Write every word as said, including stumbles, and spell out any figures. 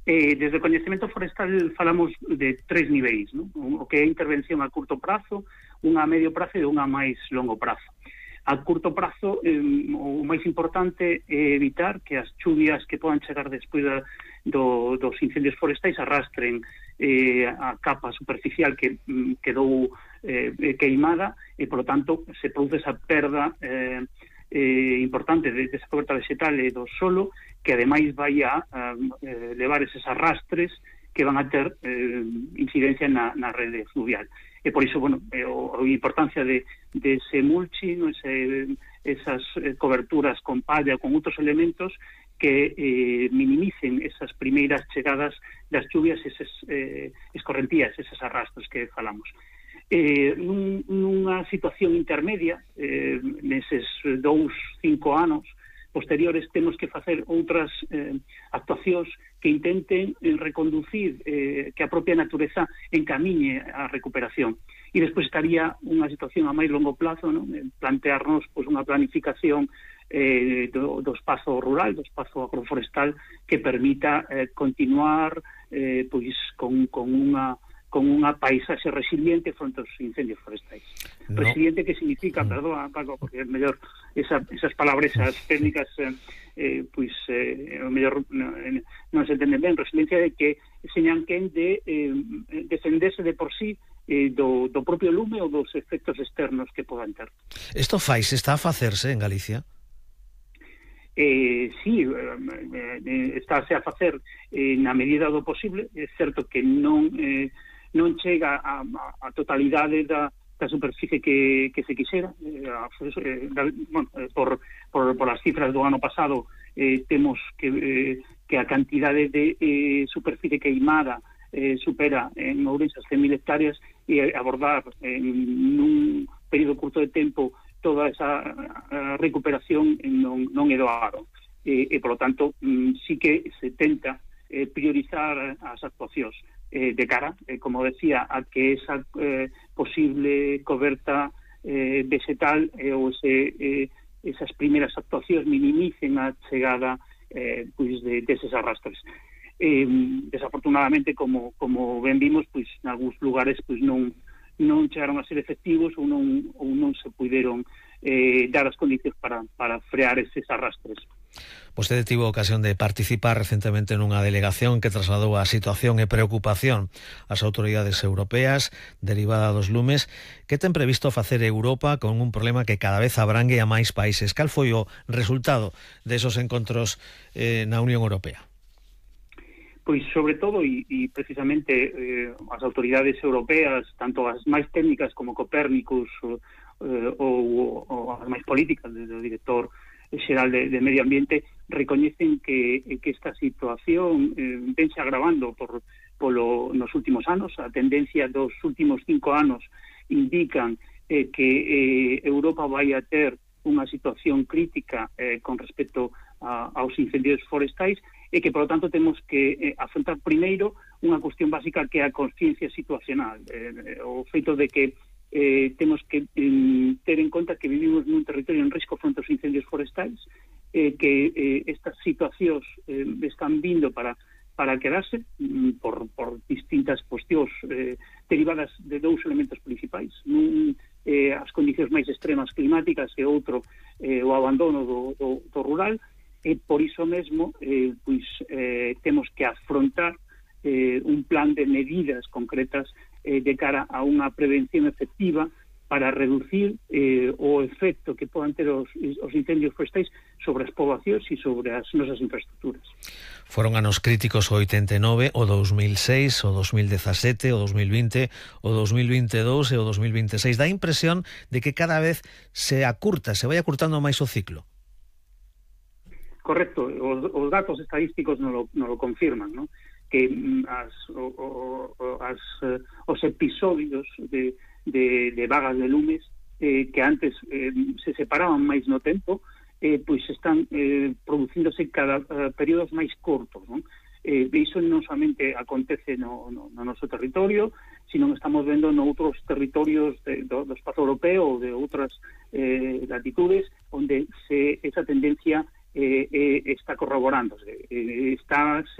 Eh, desde o coñecemento forestal falamos de tres niveis, non? O que é intervención a curto prazo, unha a medio prazo e unha a máis longo prazo. A curto prazo, eh, o máis importante é evitar que as chuvias que podan chegar despois da, do, dos incendios forestais arrastren eh, a capa superficial que mm, quedou eh, queimada e, polo tanto, se produce esa perda eh, eh, importante de, de esa coberta vegetal e do solo, que ademais vai a eh, levar eses arrastres que van a ter eh, incidencia na, na rede fluvial. E por iso, bueno, eh, o, a importancia de, de ese mulching, ese, esas eh, coberturas con palla, con outros elementos que eh, minimicen esas primeiras chegadas das chuvias, esas eh, escorrentías, eses arrastros que falamos. Eh, nun, nunha situación intermedia, eh, neses dous, cinco anos posteriores, temos que facer outras eh, actuacións que intenten eh, reconducir, eh, que a propia natureza encamiñe a recuperación. E despois estaría unha situación a máis longo plazo, non? Plantearnos pois, unha planificación eh, do, do espazo rural, do espazo agroforestal, que permita eh, continuar eh, pois, con, con unha con unha paisaxe resiliente fronte aos incendios forestais. No. Resiliente que significa, mm. perdón, Paco, porque é mellor esa, esas palabras, esas técnicas, eh, eh, pois, eh, o mellor non, non se entende ben. Resiliencia de que señan quen de eh, defenderse de por sí eh, do, do propio lume ou dos efectos externos que podan ter. Isto fais, está a facerse en Galicia? Eh, sí, eh, estáse a facer eh, na medida do posible. É certo que non... Eh, non chega a, a, a totalidade da, da superficie que, que se quixera. Eh, a, eh, da, bueno, por, por, por as cifras do ano pasado eh, temos que, eh, que a cantidade de eh, superficie queimada eh, supera en Ourense as cen mil hectáreas e abordar en un período curto de tempo toda esa a, a recuperación non, non é doado. E, e, por lo tanto, mm, sí que se tenta eh, priorizar as actuacións Eh, de cara, eh, como decía, a que esa eh, posible coberta eh, vegetal eh, ou ese, eh, esas primeras actuacións minimicen a chegada eh, pois de, deses arrastres. Eh, desafortunadamente, como, como ben vimos, pois en algúns lugares pois non non chegaron a ser efectivos ou non, ou non se puideron eh, dar as condicións para, para frear eses arrastres. Vostede tivo ocasión de participar recentemente nunha delegación que trasladou a situación e preocupación ás autoridades europeas derivada dos lumes. Que ten previsto facer Europa con un problema que cada vez abrangue a máis países? Cal foi o resultado desos encontros eh, na Unión Europea? Pois, sobre todo, e, e precisamente eh, as autoridades europeas, tanto as máis técnicas como Copérnicus eh, ou, ou as máis políticas, desde o director xeral de, de Medio Ambiente, recoñecen que, que esta situación eh, vense agravando por, polo, nos últimos anos. A tendencia dos últimos cinco anos indican eh, que eh, Europa vai a ter unha situación crítica eh, con respecto a, aos incendios forestais e que, por lo tanto, temos que eh, afrontar primeiro unha cuestión básica que é a consciencia situacional, eh, o feito de que Eh, temos que eh, ter en conta que vivimos nun territorio en risco fronte aos incendios forestais, eh, que eh, estas situacións eh, están vindo para, para quedarse mm, por, por distintas cuestións eh, derivadas de dous elementos principais. Un, eh, as condicións máis extremas climáticas e outro eh, o abandono do, do, do rural, e por iso mesmo eh, pois, eh, temos que afrontar eh, un plan de medidas concretas Eh, de cara a unha prevención efectiva para reducir eh, o efecto que podan ter os, os incendios forestais sobre as poboacións e sobre as nosas infraestructuras. Foron anos críticos o oitenta e nove, o dos mil seis, o dos mil dezasete, o dos mil vinte, o dos mil veintidós e o dos mil veintiséis. Dá a impresión de que cada vez se acurta, se vai acurtando máis o ciclo. Correcto, os, os datos estadísticos non lo, non lo confirman, ¿no? Que as, o, o, as, os episodios de, de, de vagas de lumes eh, que antes eh, se separaban máis no tempo, eh, pois están eh, producíndose cada uh, períodos máis cortos, non? Eh, iso non somente acontece no, no, no noso territorio, sino que estamos vendo noutros territorios de, do, do espazo europeo ou de outras eh, latitudes onde se, esa tendencia eh, eh, está corroborándose, eh, está se